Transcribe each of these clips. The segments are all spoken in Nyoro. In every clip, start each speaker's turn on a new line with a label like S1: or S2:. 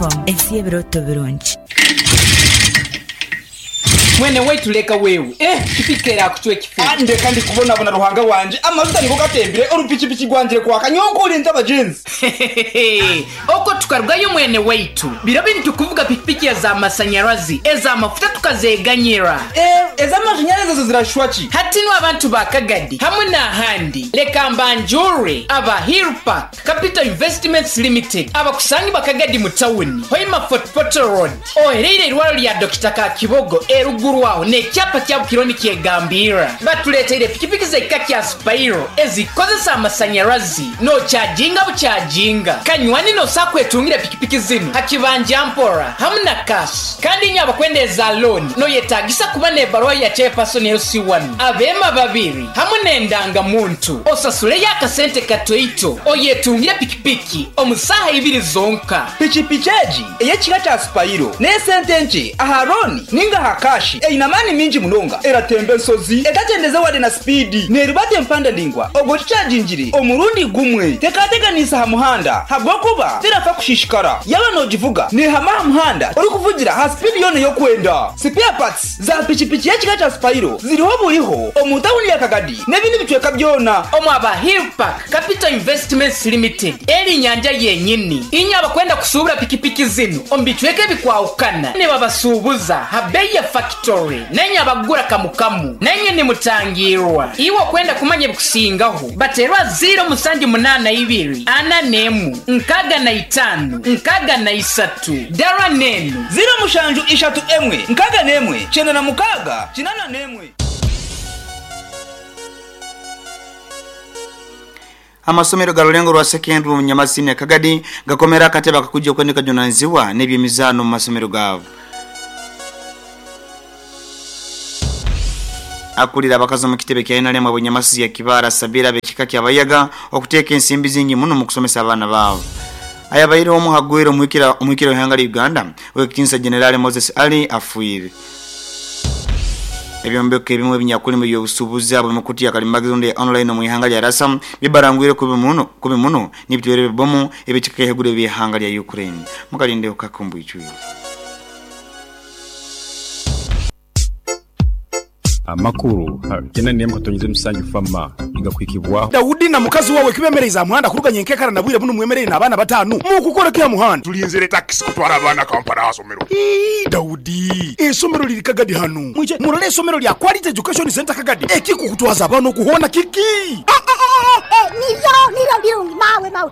S1: Ensi y'ebirooto birungi.
S2: Mwene waitu leka wewe, eh pikipiki erakucwa ekifuba.
S3: Ndeka ndi kubonabona Ruhanga wangye, amajuta nigo gatembire, orupikipiki rwangire kwaka, nyowe nkorinze abagyenzi.
S2: Hehehehe, okwo tukarugayo mwene waitu. Biro binu tukuvuga pikipiki eza masanyarazi, eza mafuta tukazeganyira.
S3: Eh, ez'amashanyarazi ezo zirashusha ki?
S2: Hati nu abantu ba Kagadi hamwe n'ahandi, leka mbanjure aba Hill Park Capital Investments Limited abakusangibwa Kagadi mu tawuni, Hoima Fort Portal Road, ohereire eirwaro lya Dokita Kakibogo eruguru aho n'ekyapa kya Bukiro nikyegambirra. Batuleteire pikipiki z'ekika kya Spiro ezikozesa amasanyarazi n'okyajinga bukyajinga. Kanywani n'osobola kwetungira pikipiki zinu ha kibanja mpora hamu na cash. Kandi inywe abakwenda eza looni noyetagisa kuba n'ebaruha ya Chairperson LC1, abeema babiri hamu n'endangamuntu. Osasuleyo akasente katoito oyetungire pikipiki omu saaha ibiri zonka.
S3: Pikipiki egi ey'ekika kya Sipayiro n'esente nkye aha looni ninga aha kaashi. Eine amaani maingi munonga, eratemba ensozi etagyendeze wade na sipiidi, neerubata empanda ndaingwa obwo ogikyagingire omurundi gumwe. Tekateganiisa aha muhanda habw'okuba terafa kushishikara. Yaaba noogivuga neehama aha muhanda orikuvugira aha sipiidi yoona ei orikwenda. Sipeya patsi za pikipiki y'ekika kya Sipayiro ziriho buriho omu tauni ya Kagadi n'ebindi bicweka byona.
S2: Omu aba Hill Park Capital Investments Limited eri nyanja yenyini. Inywe abakwenda kusuubura pikipiki zinu omu bicweka ebikwahukana nibabasuubuza ha beeyi ya fakitori nainywe abakugura kamu kamu nainywe nimutangiirwa. Iwe okwenda kumanya ebikusingaho bateerwe aha ziiro musanju munaana ibiri ana n'emu nkaaga na itaano nkaaga na isatu dara n'enu.
S3: Ziiro mushanju ishatu emwe nkaaga n'emwe kyenda na mukaaga kinaana n'emwe.
S4: Amasomero ga Rulengo rwa Secondary omu Nyamasini ya Kagadi gakomera akatebe akakujja okuba nikajunanizibwa n'ebyemizaano omu masomero gaabo. Akulira abakazi omu kitebe kya nrm ab'e Nyamasizi ya Kibaale asabire ab'ekika kya Bayaga okuteeka ensimbi zingi muno omu kusomesa abaana baabo. Ayabaire omu hagwire omuhikira w'eihanga lya Uganda ow'ekitinisa Generali Moses Ali afiire. Ebyombeko ebimwe ebinyakulimu eby'obusuubuzi ahabw'emikutu ya kalimagezi rundi eya online omu ihanga lya Rasa bibarangwire kubi muno kubi muno n'ebitwero ebibomu eby'ekika ky'ahaiguru eby'eihanga lya Ukraine. Mukalindeho kake omu bwijwire.
S5: Amakuru kyenda n'emwe katonyeza emusanju FAMA nigakuhikibwaho.
S6: Daudi na mukazi wawe kibemereize aha muhanda kuruga nyenkekara na bwire bunu mwemereire n'abaana bataanu? Mukukora ki aha muhanda?
S7: Tulinzire takisi kutwara abaana Kampala aha somero.
S6: Ii, Daudi, eisomero liri Kagadi hanu. Mwije murole eisomero lya Quality Education Centre Kagadi. Ekikukutwaza abaana oku hoona kiki?
S8: Niryo, niryo birungi mawe, mawe.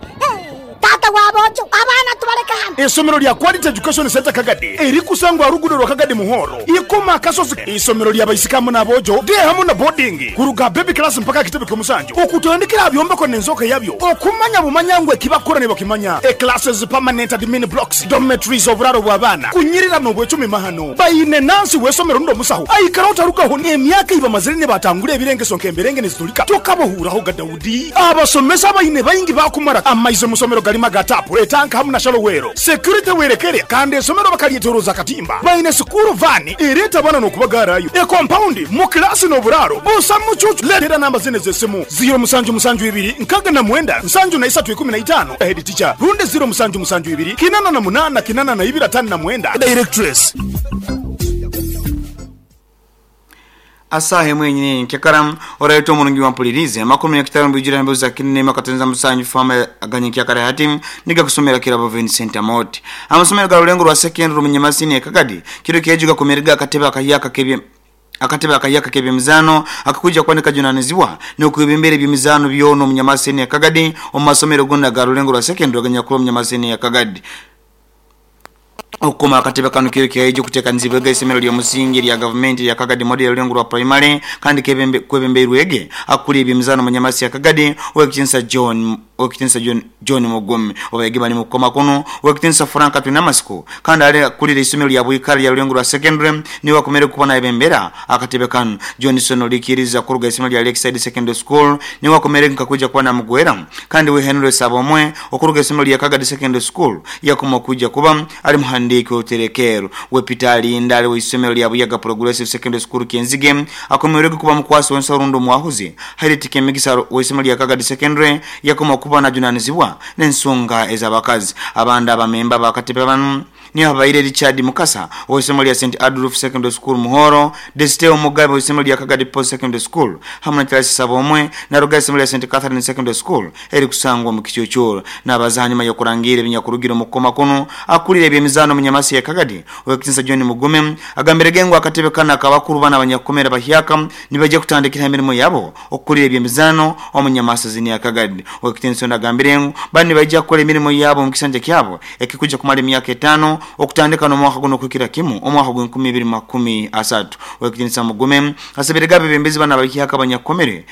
S8: Taata wa boojo, abaana tubaleke hanu.
S6: Eisomero lya Quality Education Centre Kagadi erikusangwa aha ruguudo rwa Kagadi Muhoro, Ikoma Akasozi. Eisomero lya baisiki hamu n'aboojo, day hamu na boarding, kuruga aha baby class mpaka aha kitebe ky'omusanju, okutandikira aha byombeko n'enzooka yabyo, okumanya bumanya ngu eki bakukora nibakimanya. E Classes, permanent admin blocks, dormitories, oburaaro bw'abaana, kunyirira n'obwecumi mahano. Baine nansi w'eisomero rundi omusaho aikaraho tarugaho n'emyaka ei bamazire nibatangura ebirengeso nk'emberenge nizitulika. Tokabahuuraho ga Daudi. Abasomesa abaine baingi baakumara amaizi omu somero garimu aga taapu, etanka hamu na shallow well. Security werekere kandi esomero bakaryetoroza akatimba. Baine sikuuru vaani ereeta abaana n'okubagaarayo. Ekompaundi mu kilaasi n'oburaaro busa mucuucu. Leetera namba zinu ez'esimu, ziiro musanju musanju ibiri nkaaga na mwenda nsanju na isatu ikumi na itaano, Head teacher, rundi ziiro musanju musanju ibiri kinana na munaana kinana na ibiri ataano na mwenda, Directress.
S4: Asaaha emwe yenyini eyenkekara, oraita omurungi wampuliriize, amakuru munyakitara omubwijwire aha mbeho za Kinene Makatonyeza Musanju Farm aganyinkyakara hati nigakusomera Kirabo Vincent Amooti. Amasomero ga Rulengo rwa Secondary omu Nyamasini e Kagadi kiro kyeju gakomerege akatebe akahyaka k'ebye akatebe akahyaka k'ebyemizaano akakwija kuba nikajunanizibwa n'okwebembera ebyemizaano byona omu Nyamasini e Kagadi omu masomero gona aga Rulengo rwa Secondary aganyakuri omu Nyamasini ya Kagadi. Okukoma akatebe kanu kiro kyaija okutekanizibwege eisomero ly'omusingi erya gavumenti erya Kagadi Model Rulengo rwa Primary kandi kwebembeirwege akukura ebyemizaano omu Nyamasi ya Kagadi Owekitinisa John Owekitinisa John John Mugume. Obayegi bali mukukoma kunu Owekitinisa Frank Twinamasiko kandi ali akulira eisomero lya Bwikara lya Rulengo rwa Secondary niwe akomere kuba nayebembera akatebe kanu. Johnson Olikiriza kuruga eisomero lya Lakeside Secondary School niwe akomere nkakwija kuba namugwera kandi we Henry Sabomwe okuruga eisomero lya Kagadi Secondary School yakoma okwija kuba ali muhandiiki w'oruterekeero we Peter Alinda ali w'eisomero lya Buyaga Progressive Secondary School Kyenzige akomerwege kuba mukwasi w'ensaho rundi omwahuzi Harriet Kemigisa w'eisomero lya Kagadi Secondary yakoma okuba akuba najunanizibwa n'ensonga ez'abakazi. Abandi abamemba bakatebe bano ni abaire Richard Mukasa ow'essomero lya St Adolf Secondary School Muhoro, Desteo Mugabe ow'essomero lya Kagadi Post Secondary School hamwe na Charles Sabomwe naruga essomero lya St Catherine Secondary School eri kusangwa mu Kikyukyuru. N'abaza hanyuma y'okurangira ebinyakurugiro mu kukoma kuno akulira ebyemizaano mu Nyamasi ya Kagadi Owekitinsa John Mugume agambire gengo akatebe kana akabakuru bana abanyakukomera bahyaka nibajja kutandikira emirimu yabo okukulira ebyemizaano omu Nyamasi zini ya Kagadi. Owekitinsa agambire ngu bani bajja kukola emirimu yabo mu kisanja kyabo ekikuja kumala emyaka 5 okutandika n'omwaka guno kukira kimu omwaka gwa 2023. Owekitinsa Mugume asabire abebembezi bana bahyaka abanyakukomere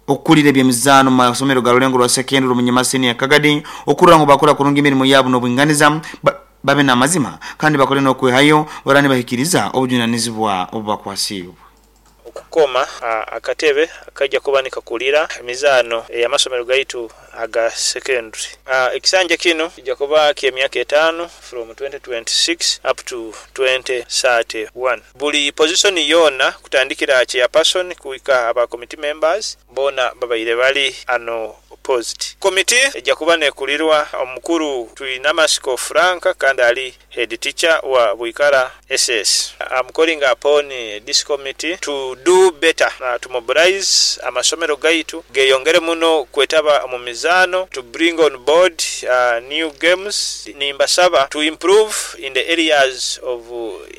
S4: okukulira ebyemizaano mu masomero ga Rulengo rwa secondary mu Nyamasini ya Kagadi okurora ngu bakora kurungi emirimu yabo n'obwinganiza babe n'amazima kandi bakore n'okwehayo barani bahikiriza obujunanizibwa obubakwasiibwe.
S9: Okukoma akatebe akajja kuba nikakulira emizaano ey'amasomero gaitu aga secondary. Ekisanja kino kijja kuba ky'emyaka 5 from 2026 up to 2031. Buli position yoona kutandikira chairperson kuhika aba committee members boona babaire bali ano opposed. Committee ejja kuba nekulirwa omukuru Twinamasiko Frank kandi ali head teacher wa Bwikara SS. I'm calling upon this committee to do better, to mobilize amasomero gaitu geyongere muno kwetaba mu mizaano, to bring on board new games. Nimbasaba to improve in the areas of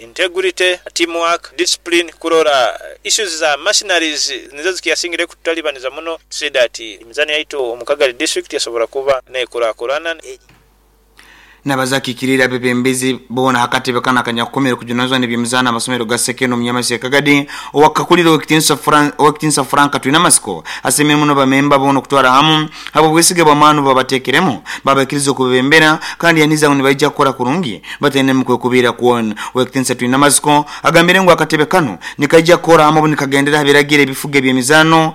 S9: integrity, teamwork, discipline, kurora issues za machineries nizo zikiyasingire kututalibaniza muno, to see that emizano yaitu omu Kagadi district yasobora kuba nekurakurana.
S4: Nabazakikirira abebembezi bona hakatebe kana akanyakukomera kujunanizwa n'ebyemizaano amasomero ga sekeno mu Nyamasi ya Kagadi owakakulira Owekitinsa Frank Twinamasiko asemire muno bamemba bona okutwara hamu abo bwesige bw'amaani babateekeremu babakiriza okubebembera kandi yaniza ngu nibaija kukora kurungi bataine mu kwekubiira kwona. Owekitinsa Twinamasiko agambire ngu akatebe kano nikaija kukora hamu nikagendera aha biragiro ebifuga ebyemizaano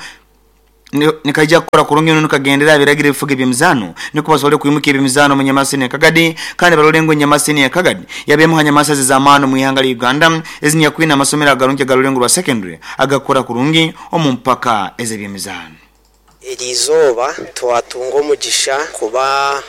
S4: nikaija kukora kurungi nikagendera ebiragiro ebifuga ebyemizaano niko basobole kwimuka ebyemizaano mu Nyamasini ya Kagadi kandi barole ngu Nyamasini ya Kagadi yabemu ha nyamasa z'amaani mu ihanga lya Uganda ezinyakwina amasomero agarungi agarulengo rwa secondary agakora kurungi omu mpaka ez'ebyemizaano.
S10: Eri izooba twatunga omugisha kuba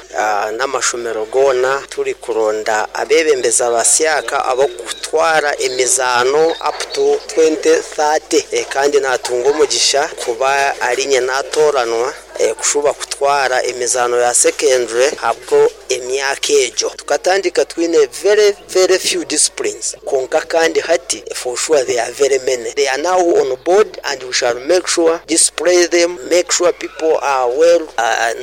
S10: n'amashomero goona turi kuronda abebembezi abasyaka abokutwara emizaano up to 2030 kandi natunga omugisha kuba arinye natoranwa kushuba kutwara emizano ya secondary habwo emyaka ejo. Tukatandika twine very very few disciplines konka kandi hati for sure they are very many. They are now on board and we shall make sure display them, make sure people are well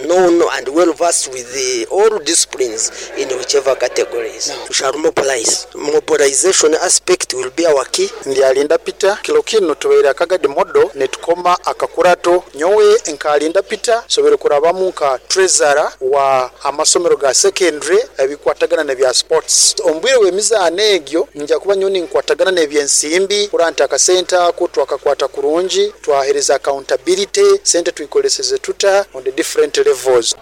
S10: known and well versed with the all disciplines in whichever categories. We shall mobilize. Mobilization aspect will be our key.
S11: Ndyalinda Peter kilo kino tubeire Kagadi modo netukoma akakurato nyowe nkalinda Peter sobere kurabamu nka treasurer wa amasomero ga secondary ebikwatagana nebya sports. Ombwire w'emizaano egyo nja kuba nyoni nkwatagana n'ebyensimbi kuranta akasente ako twakakwata kurungi twahereza accountability sente tuikoleseze tuta on the different levels.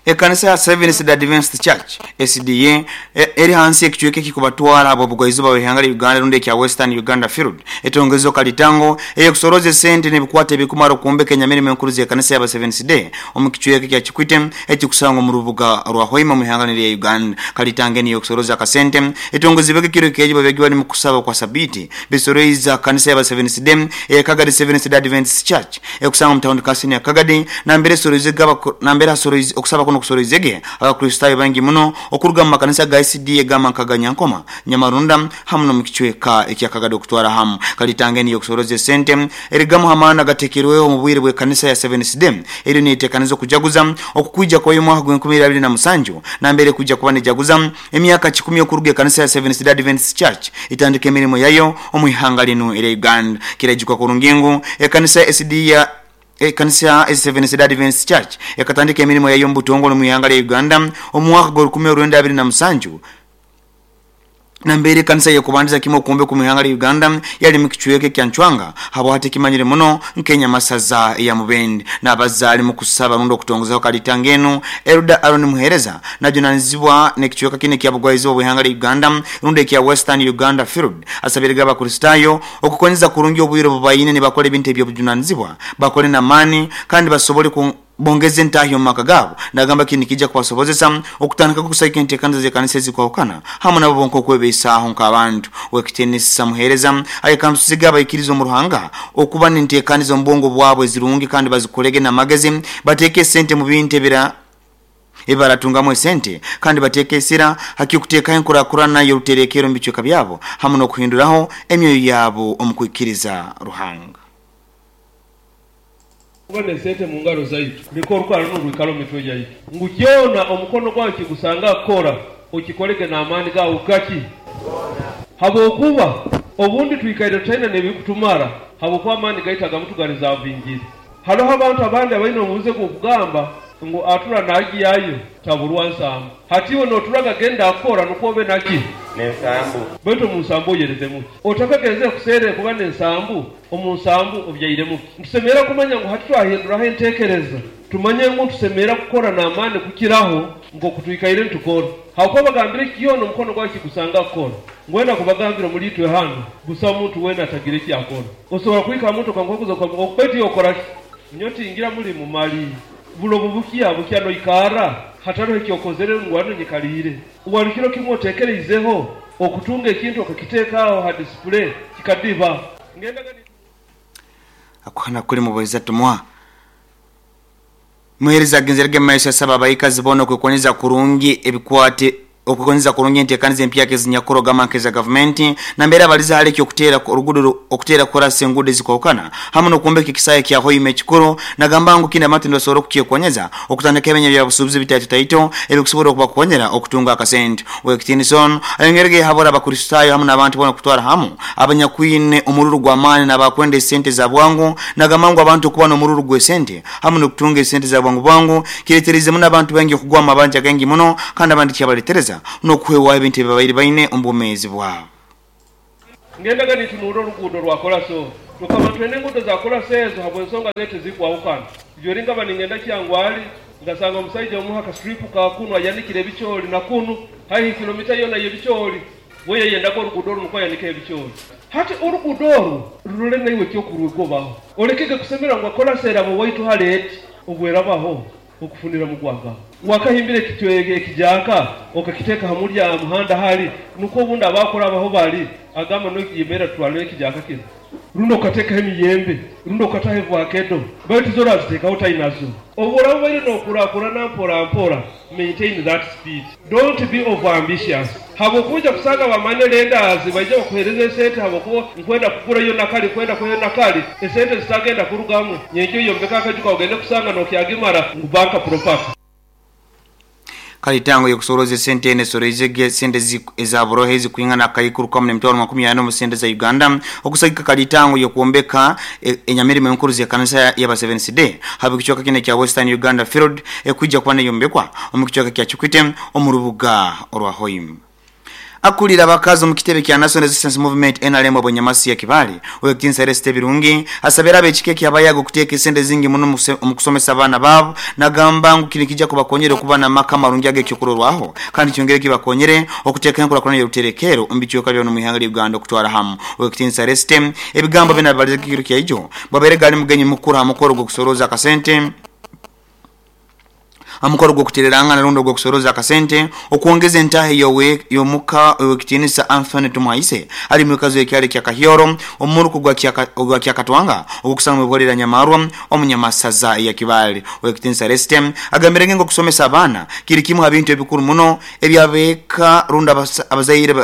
S4: Ekanisa ya Seventh Day Adventist Church SDA eri hansi ekichweke kikubatwara abo bugwaizuba bw'ihanga lya Uganda rundi ekya Western Uganda Field etongezo kalitango eyokusoroze sente n'ebikwate ebikumara okumbeka enyamirimo enkuru z'ekanisa ya Seventh Day omu kichweke kya Kikwite ekikusangwa mu rubuga rwa Hoima mu ihanga lya Uganda. Kalitango niyo kusoroza akasente etongezibweke kiro keji babegi bali mu kusaba kwa sabiti bisoroiza kanisa ya Seventh Day Kagadi Seventh Day Adventist Church ekusangwa mu town council ya Kagadi nambere soroize gaba nambere asoroize okusaba kuno kusoroizege abakristayo bangi muno okuruga mu makanisa ga SDA gama Nkaganyankoma Nyamarunda hamu no mu kichweka ekya Kagadi okutwara hamu. Kalitange niyo kusoroze sente erigamu hamana gatekerweho mu bwire bwe kanisa ya Seventh Day eri nitekanizo kujaguza okukuja kwa mwaka gwa 2027 nambere kuja kuba nejaguza emyaka 10 okuruga kanisa ya Seventh Day Adventist Church itandike emirimo yayo omu ihanga lino era Uganda. Kirajikwa kurungingo ekanisa ya SDA ekanisa ya Seventh Day Adventist Church ekatandika emirimo yayo mu butongole mu ihanga lya Uganda omwaka gwa 1927 Nambere kanisa yekubandiza kimwe okumbe ku mihanga ya Uganda yali mu kichweke kya Ncwanga habo hati kimanyire muno nkenya masaza ya Mubende n'abazaali mu kusaba rundo okutongozaho kalitangeno Elda Aaron Muhereza najunanizibwa n'ekichweka kine kya bugwaizi obwihanga lya Uganda rundo ekya Western Uganda Field asabiriga abakristayo okukonyeza kurungi obwiro bubayine ne bakole ebintu ebyobujunanizibwa bakole namani kandi basobole ku bongeze ntahyo mu maka gabo nagamba kini kijja kubasobozesa okutandika kukusayika enteekaniza z'ekkanisa ezikwawukana hamwe nabo bonka okwebeisaho nk'abantu. Wekitenisa Muhereza ayekambusiga abaikiriza omu Ruhanga okuba n'enteekaniza omu bwongo bwabwe ezirungi kandi bazikolege n'amagezi, bateeke esente mu bintu ebira ebaratungamu esente kandi bateeke esira hakikuteekaho enkurakurana y'oruterekero omu bicweka byabo hamwe n'okuhinduraho emyoyo yabo omu kwikiriza Ruhanga.
S12: Kuba n'esente mu ngaro zaitu, leka orukara runu rwikale omu mitwe yaitu, ngu kyona omukono gwawe kigusanga kukora, okikolege n'amaani gaawe gaki? Habwokuba obundi twikaire tutaine n'ebirikutumara habwokuba amaani gaitu agamu tugarizavingire. Haroho abantu abandi abaine omuze gw'okugamba ngu atura naagyayo taburwa nsambu. Hati iwe nooturaga genda kukora nukwo obe naki?
S13: N'ensambu.
S12: Baitu omu nsambu oyerezemu ki? Otakagenzere kuseerera kuba n'ensambu, omu nsambu obyairemu ki? Nitusemerra kumanya ngu hati twahinduraho enteekereza, tumanye ngu nitusemerra kukora n'amaani kukiraho nk'oku twikaire nitukora. Habwokuba bagambire kyona omukono gwawe kigusanga kukora. Ngwenda kubagambira omuli itwe hanu, busaho muntu weena atagira eki akora. Osobora kuhika ha muntu okamukaguza okamu, baitu iwe okora ki? Nyowe tingira mulimu mali. Buli obu bukya, bukya noikarra hataroho eki okozere ngu hanu nyikaliire. Wali kiro kimu otekereizeho okutunga ekintu okakiteeka aho ha display kikadiba? Ngendaga ni.
S4: Akuhana kuli mubweza tumwa. Muhereza agenzerege mu maiso asaba abaikazi boona okwekonyeza kurungi ebikwate okwekonyeza kurungi enteekaniza empyaka ezinyakuro gamba nk'eza gavumenti nambere abaliza hali eky'okuteera oruguudo okuteera korasi enguudo ezikwahukana hamwe n'okwombeka ekisaayi kya Hoima ekikuru nagamba ngu kinu abantu nibasobora okukyekonyeza okutandika ebinya bya busuubuzi bitaitotaito ebikusobora okubakonyera okutunga akasente. Ow'ekitiinisa onu ayongerege yahabura Abakristaayo hamu n'abantu boona kutwara hamu abanyakwine omururu gw'amaani n'abakwenda esente za bwangu nagamba ngu abantu okuba n'omururu gw'esente hamu n'okutunga esente za bwangu bwangu kireeteriize muno abantu baingi okugwa omu mabanja gaingi muno kandi abandi kyabaleetereza n'okuhwewaho ebintu ebi babaire baine omu bwomeezi bwabo.
S12: Ngendaga nintunuura oruguudo rwa korasi oru. Tukaba nitwenda enguudo za korasi ezo habw'ensonga zaitu ezikwahukana. Ijweri nkaba ningenda Kyangwali, nkasanga omusaija omu ha kastripu ka kunu ayanikire ebicoori na kunu haihi kilomita yoona y'ebicoori. We yayendaga oruguudo oru nukwo ayanikeho ebicoori. Hati oruguudo oru rurole naiwe eky'okurwegobaho. Olekege kusemererwa ngu korasi eraba owaitu hali eti obwerabaho okufunira mugwangaho. Wakahimbire ekijaaka okakiteeka ha mulya ha muhanda hali nukwo obundi abakurabaho bali agamba noyemerra tutwaleyo ekijaaka kinu. Rundi okateekaho emiyembe, rundi okataho evakedo, baitu zo oraziteekaho otainazo. Obu oraba obaire nokurakurana mpora mpora, maintain that speed. Don't be over ambitious habwokuba oija kusanga ba money lenders baija bakuhereza esente habwokuba nkwenda kugurayo nakali, nkwenda kuhayo nakali, esente zitagenda kurugamu nyenkya oyombeke akaju kawe ogende kusanga nokyagimara ngu bank property.
S4: Kale etango y'okusoroza esente eno esoroizege esente eza buroho ezikwingana akaikuru kamu n'emitwaro 40 omu sente za Uganda okusagika kalitango y'okwombeka enyamirimo enkuru z'ekanisa y'aba Seventh Day habe kicweka kinu ekya Western Uganda Field ekwija kuba neyombekwa omu kicweka kya Kikwite omu rubuga orwa Hoima. Akulira abakazi omu kitebe kya National Resistance Movement, nrm, Obwenyamasi ya Kibale, Owekitiinisa Ereste Birungi, asabire ab'ekika eky'Abayaga okuteeka esente zingi muno omu kusomesa abaana baabo nagamba ngu kinu kija kubakonyera okuba n'amaka amarungi ag'ekyokurorwaho kandi kyongere kibakonyere okuteekaho enkurakurana y'oruterekeero omu bicweka byona omu ihanga lya Uganda okutwara hamu. Owekitiinisa Ereste ebigambo binu abibalize ekiro kya ijo bwabaire gali mugenyi mukuru ha mukoro gw'okusorooza akasente Ha mukoro gw'okutererangana rundi ogw'okusoroza akasente okwongeza entaaha ey'omuka Owekitiinisa Anthony Tumuhaise ali mwikazi w'ekyaro ekya Kahyoro omu muruka ogwa Kyakatwanga ogw'okusanga omu ibwa lya Nyamarwa omu Nyamasaza eya Kibaale. Owekitiinisa Resite agambire ngu okusomesa abaana kiri kimu ha bintu ebikuru muno eby'abeeka rundi abazaire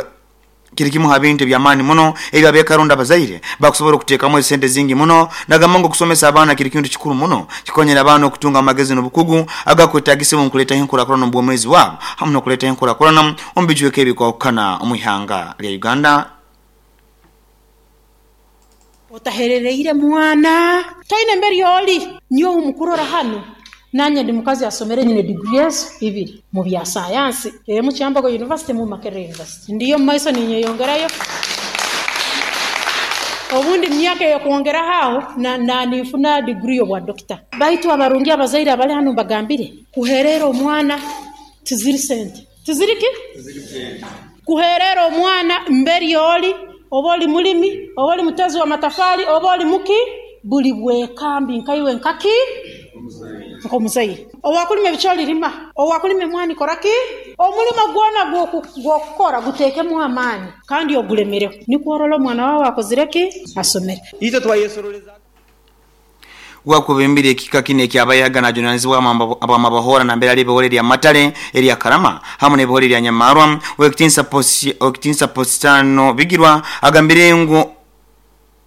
S4: Kiri kimu ha bintu eby'amaani muno ebi ab'eka rundi abazaire bakusobora okuteekamu esente zingi muno. Nagamba ngu okusomesa abaana kiri kintu kikuru muno. Kikonyera abaana okutunga amagezi n'obukugu agakwetagisibwa omu kuleetaho enkurakurana omu bwomeezi bwabo hamu n'okuleetaho enkurakurana omu bicweka ebikwahukana omu ihanga lya Uganda.
S14: Otaherereire mwana. Toine mbere oli. Nyowe mukurora hanu.
S13: Nanye ndi mukazi asomere, nyine diguri ezo ibiri mu bya sayansi, emu Kyambogo University, emu Makerere University. Ndiyo mu maiso ninyeyongerayo, obundi mu myaka eyokwongeraho aho na ninfuna diguri y'obwa dokita. Baitu abarungi abazaire abali hanu mbagambire, kuherera omwana tiziri sente. Tiziri ki? Kuherera omwana mberi oli, oba oli mulimi, oba oli mutezi wa matafali, oba oli muki, buli bwekambi nkaiwe nkaki? Nk'omuzaire. Owakulima ebicooli lima, owakulima emwani kora ki? Omulimo gwona gw'okukora guteekemu amaani kandi ogulemereho, nikwo orole omwana waawe akozire ki? Asomere.
S14: Itwe twayesoroleza.
S4: Wakwebembire ekika kinu ekyabayaga najunanizibwa abwamabahora nambere ali ebihore erya Matale, erya Karama hamu n'ebihore erya Nyamarwa. Owekitinsa Positano Bigirwa agambire ngu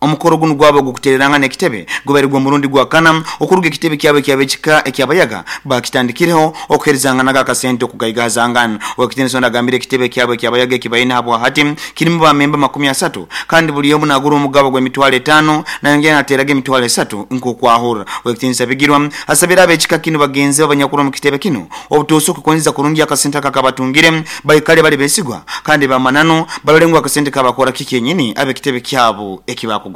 S4: omukoro gunu gwabo ogw'okutererangana ekitebe gubaire gw'omurundi gwa kana okuruga ekitebe kyabo ekyabekika ekyabayaga bakitandikireho okuheerezanganaga akasente okugaigahazangana. Owekitinisa ono agambire ekitebe kyabo ekyabayaga ekibaine habwahati kirimu bamemba 30 kandi buli omu nagura omugabo gw'emitwaro 5 nayongera nateraga emitwaro 3 nk'okwahurra. Owekitinisa Bigirwa asabire ab'ekika kinu bagenzi be abanyakuru omu kitebe kinu obutuusa okukonzesa kurungi akasente aka akabatungire baikale bali besigwa kandi bamananu barole ngu akasente kabakora kikenyini ab'ekitebe kyabo ekibakugonza.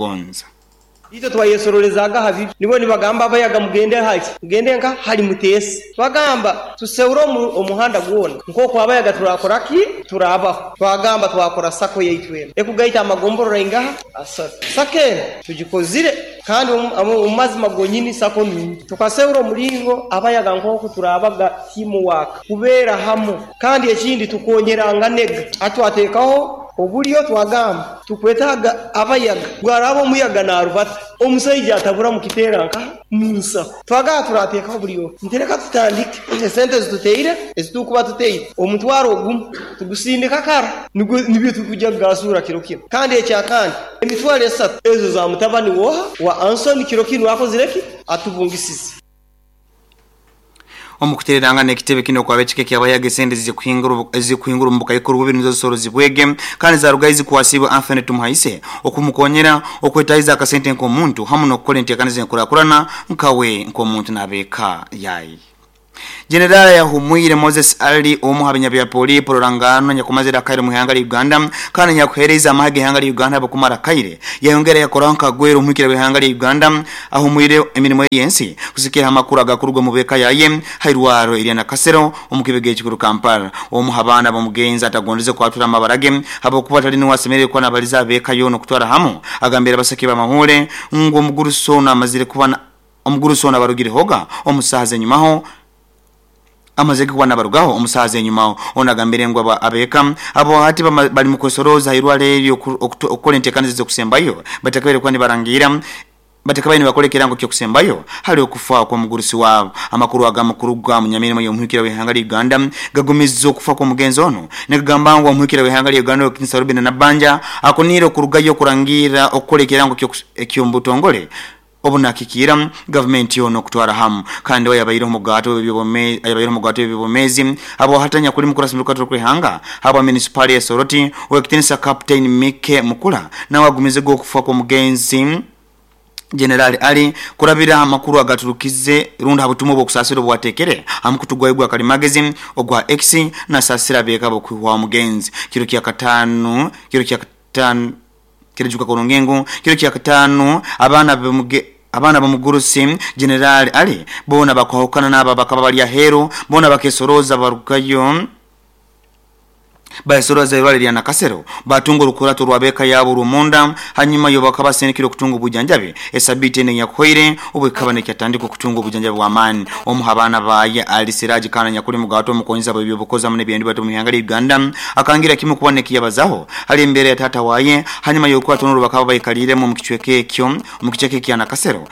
S14: Itwe twayesorolezaga ha bibi. Nibo nibagamba abayaga mugende hali, mugende nka hali muteese. Twagamba tuseure omuhanda gwona nk'oku abayaga turakora ki? Turabaho. Twagamba twakora sako yaitu enu ekugaita amagomborora ingaha asatu. Sako enu tugikozire kandi omu mazima gonyini sako nungi. Tukaseura omulingo abayaga nk'oku turabaga teamwork, kubeera hamu, kandi ekindi tukonyeranganaga. Hati twatekaho obulyo twagamba tukwetaaga abayaga, bwaraba omuyaga narubata omusaija atabura mukiteera nkaha munsaho. Twagamba turateekaho buli omu nti reka tutandike esente ezituteire ezitukuba tuteire omutwaro ogumu tugusindika kara nibyo tukujja kugasura kiro kinu. Kandi ekyakandi emitwaro 3 ezo za mutabani woha wa Anson kiro kinu akozire ki? Atubungisize.
S4: Omu kutererangana ekitebe kinu okwaba ekika ekyabayaga esente ezikuhingura omu bukaikuru bubiri nizo zisorozibwege kandi zarugayo zikwasibwe Anthony Tumuhaise okumukonyera okwetahiza akasente nk'omuntu hamu n'okukora enteekaniza enkurakurana nkawe nk'omuntu n'abeeka yaye. General yahumwire Moses Ali omu ha binyabya polipo rurangano nyakumazire akaire mu ihanga lya Uganda kandi nyakuhereza amahe g'ihanga lya Uganda abakumara akaire yayongera yakoraho nkagwera omuhikira w'ihanga lya Uganda ahumwire emirimo y'ensi kusikira amakuru agakurugwa mu beka yaye hairwaro erya Nakasero omu kibega ekikuru Kampala. Omu ha baana b'omugenzi atagondeze kwatura amabarage habwokuba atali niwe asemerere kuba nabaliza abeka yoona okutwara hamu agambira abasaki b'amahule ngu omugurusi ono amazire kuba omugurusi ono abarugirehoga omusaha zenyumaho amaze kuba nabarugaho omusaha zenyumaho. Ono agambire ngu abeka abo hati bali mu kwesoroza hairwaro eryo okukora enteekaniza z'okusembayo batakabaire kuba nibarangira batakabaire nibakora ekirango ky'okusembayo hali okufa kw'omugurusi waabo. Amakuru agamukuruga munyamirimo y'omuhikira w'ihanga lya Uganda gagumiza okufa kw'omugenzi ono nigagamba ngu omuhikira w'ihanga lya Uganda Owekitinisa Robinah Nabbanja akuniire okurugayo okurangira okukora ekirango eky'omubutongole obunakikiira gavumenti yoona okutwara hamu. Kandi we yabaire omugato w'ebyobwomeezi habwahatanya kuli mukuru asimira okukaturo kw'ihanga habwa munisipaali ya Soroti Owekitinisa Captain Mike Mukula nawe agumize gw'okufa kw'omugenzi General Ali kurabira amakuru agaturukize rundi ha butumwa obw'okusaasira obwateekere aha mukutu gwayo gwa kalimagezi ogwa X nasaasira abeeka b'okwihwaho omugenzi kiro kya kataano kiro kya kataano kirijuka kurungi ngu kiro kya kataano abaana b'omugurusi General Ali boona bakwahukana n'abo abakaba bali aheeru boona bakesoroza barugayo bayesoroza irwaro lya Nakasero batunga orukurato rw'abeeka yaabo orw'omunda hanyuma yo bakaba basindikire okutunga obujanjabi esabiiti ene enyakuhoire obu ekaba nekyatandika okutunga obujanjabi bw'amaani. Omu ha baana baye Ali Siraji kandi nyakuli mugato omukonyiza bw'ebyobukozi hamu n'ebyendibatu mu ihanga lya Uganda akangira kimu kuba nekiyabazaho hali embeera ya taata waye hanyuma y'orukurato n'orwo bakaba baikaliiremu omu kicweka ekyo omu kicweka ekya Nakasero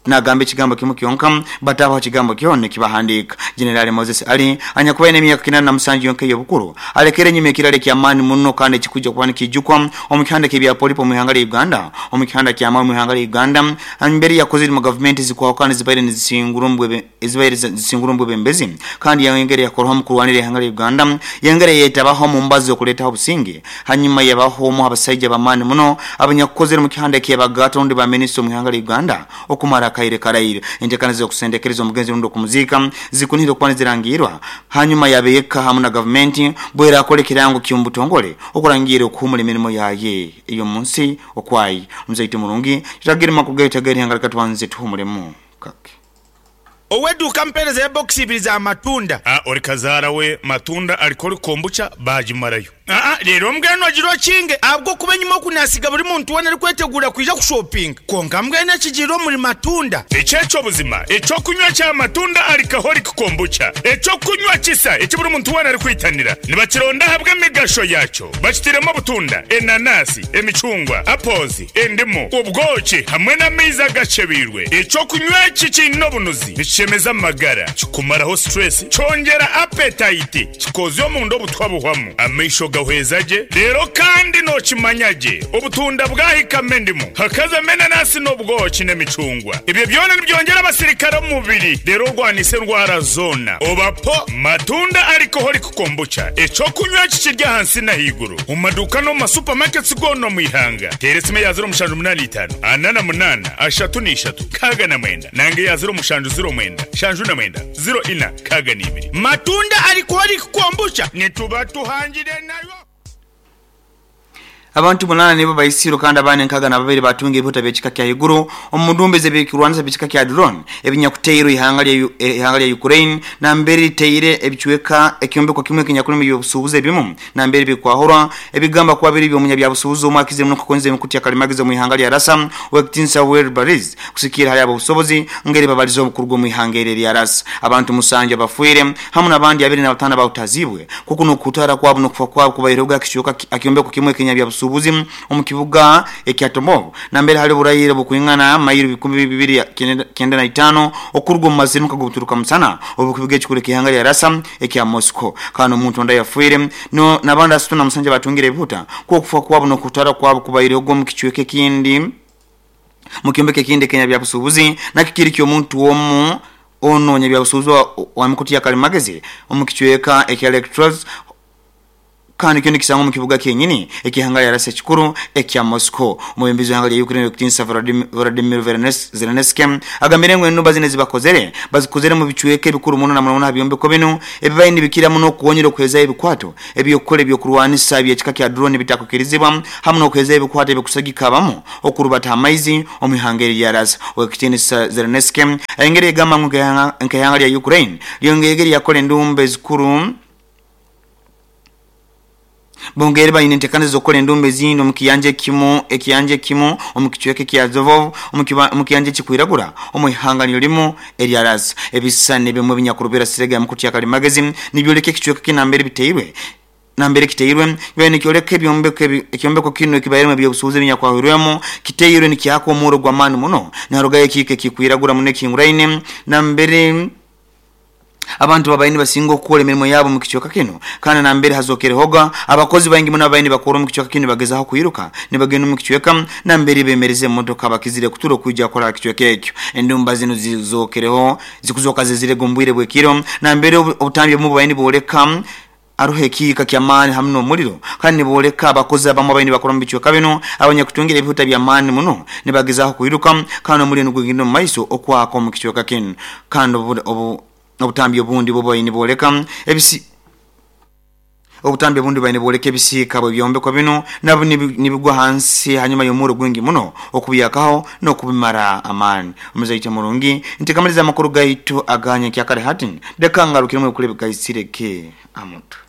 S4: nagamba ekigambo kimu kyonka batabaho kigambo kyona ekibahandiika. General Moses Ali anyakubaire n'emyaka 87 yonka ey'obukuru alekere enyuma ekirala eky'amaani muno kandi ekikujja kuba nikijukwa omu kihanda ky'ebyapolipo mu ihanga lya Uganda omu kihanda ky'amaani mu ihanga lya Uganda mbere yakozire mu gavumenti zikwahukana zibaire nizisingura omu bwebembezi kandi yayongera yakoraho mu kurwanira ihanga lya Uganda yayongera yetabaho mu mbazo okuleetaho obusinge hanyuma yabaho omu abasaija b'amaani muno abanyakukozere mu kihanda eky'abagato rundi ba minisita omu ihanga lya Uganda okumara. akaire karaire. Entekaniza z'okusendekereza omugenzi rundi okumuziika zikunihire okuba nizirangirwa hanyuma yabeeka hamu na gavumenti bwerakola ekirango ky'omubutongole okurangira okuhumura emirimu yaye ey'omunsi okwayi. Omuzaite murungi tutagire makuru gaitu ag'erihanga leka tubanze tuhumuremu kake.
S15: Ow'eduuka ampeereza ya bokisi ibiri za matunda.
S16: Aa ori kazaara we matunda alcoholic kombucha baagimarayo.
S15: Aa reero mbwenu ogira okinge ahabw'okuba enyima oku naasiga buri muntu weena arikweteguura kwija kushopinga. Kwonka mbwenu ekigiire omuri matunda.
S16: Eki eky'obuzima eky'okunywa kya matunda alcoholic kombucha, eky'okunywa kisa eki buri muntu weena arikwitanira. Nibakironda ahabw'emigasho yaakyo. Bakitairemu obutunda, enanasi, emicungwa, apples, endimu, obwoki hamwe n'amaizi agakyebeirwe. Eky'okunywa eki kiine obunuzi, nikishemeza amagara, kikumaraho stress, kyongyera appetite, kikoozya omunda obutwa buhwamu, amaisho gahweza gye, reero kandi nookimanya gye obutunda bwahikamu endimu, hakazamu enanasi n'obwoki n'emicungwa. Ebyo byona nibyongyera abasirikare omu mubiri reero orwanise endwara zoona. Oba po Matunda Alcoholic Kombucha, eky'okunywa eki kiri ahansi n'ahaiguru omu maduuka n'omu ma supermarkets goona omu ihanga. Teera esimu eya 0785 48 33 69 nanga eya 0709 79 04 62.
S15: Matunda Alcoholic Kombucha nituba tuhangire nayo.
S4: Abantu munaana nibo baisirwe kandi abandi 62 batunga ebihuta by'ekika kya haiguru omu ndumba ez'ebyokurwanisa by'ekika kya drone ebinyakuteirwe ihanga lya ihanga lya Ukraine nambere liteire ebicweka ekyombeko kimwe ekinyakulimu ebyobusuubuzi ebimu nambere bikwahurwa ebigamba kuba biri by'omunyabyabusuubuzi omwe akizire muno kukozesa emikutu ya kalimagizi omu ihanga lya Rasa ow'ekitiinisa Wilbur kusikiira hali ab'obusobozi ngeri babalize obukuruga omu ihanga eri erya Rasa. Abantu 7 abafiire hamu n'abandi 25 abahutaziibwe kuku n'okutara kwabo n'okufa kwabo kubaireho akicweka ekyombeko kimwe ekinyabyabusuubuzi omu kibuga ekya Tomov nambere hali oburayire bukwingana mayiro 295 okuruga omu mazirimuka g'obuturuka musana obukibuga ekikuru ekihanga lya Rasa ekya Moscow. Kandi omuntu onda yafiire no n'abandi 37 batungire ebihuta kufa kwabo n'okutara kwabo kubaireho omu kicweka ekindi mu kyombeko ekindi Kenya byabusuubuzi nakyo kiri ky'omuntu omu ononya byabusuubuzi wa mikutu ya kalimagezi omu kicweka ekya Electros kandi kyo nikisangwa mu kibuga kyenyini ekihanga lya Rasa ekikuru ekya Moscow. Omwebembezi w'ihanga lya Ukraine ow'ekitiinisa Volodymyr Zelensky agambire ngu enumba zino ezibakozere bazikozere mu bicweka ebikuru muno na muno aha byombeko binu ebibaire nibikira muno okuwonyera okuhezayo ebikwato eby'okukora ebyokurwanisa eby'ekika kya drone bitakukirizibwa hamu n'okuhezayo ebikwato ebikusagika abamu okurubata amaizi omu ihanga eri lya Rasa. Ow'ekitiinisa Zelensky ayongere yagamba ngu nk'ihanga lya Ukraine lyongere lyakora endumba ezikuru bongere baine entekaniza z'okukora endumba ezindi omu kiyanja ekimu ekiyanja ekimu omu kicweka ekya Zovov omu kiyanja ekikwiragura omu ihanga niryo limu erya Rasa. Ebisisani ebimwe ebinyakurubira sirega ya mukutu ya kalimagezi nibyoleka ekicweka kinu nambere biteirwe nambere kiteirwe bibaire nikyoleka ebyombeko ekyombeko kinu ekibairemu ebyobusuubuzi ebinyakwahwirwemu kiteirwe nikyaka omurro gw'amaani muno niharugayo ekiika ekikwiragura muno ekihinguraine nambere abantu babaire nibasinga okukora emirimo yabo omu kicweka kinu kandi nambere hazokerehoga abakozi baingi muno ababaire nibakora omu kicweka kinu bagezaho kwiruka nibagenda omu kicweka nambere bemereza emotoka bakizire kutura okwija kukora aha kicweka ekyo. Endumba zinu zizokereho zikuzoka zizirega omu bwire bw'ekiro nambere obutambi obumu bubaire nibooleka aruho ekiika ky'amaani hamu n'omuriro kandi nibooleka abakozi abamu abaine nibakora omu bicweka binu abanyakutungira ebihuta by'amaani muno nibagezaho kwiruka kandi omuriro nigugenda omu maiso okwaka omu kicweka kinu kandi obutambi obundi bubaire nibooleka ebisi obutambi obundi bubaire nibooleka ebisiika bw'ebyombeko binu nabwo nibigwa hansi hanyuma y'omurro gwingi muno okubyakaho n'okubimara amaani. Omuzaite murungi ntikamaliza amakuru gaitu aganya kyakare hati leka ngarukiremu ebikuru ebigaisireke amutwe.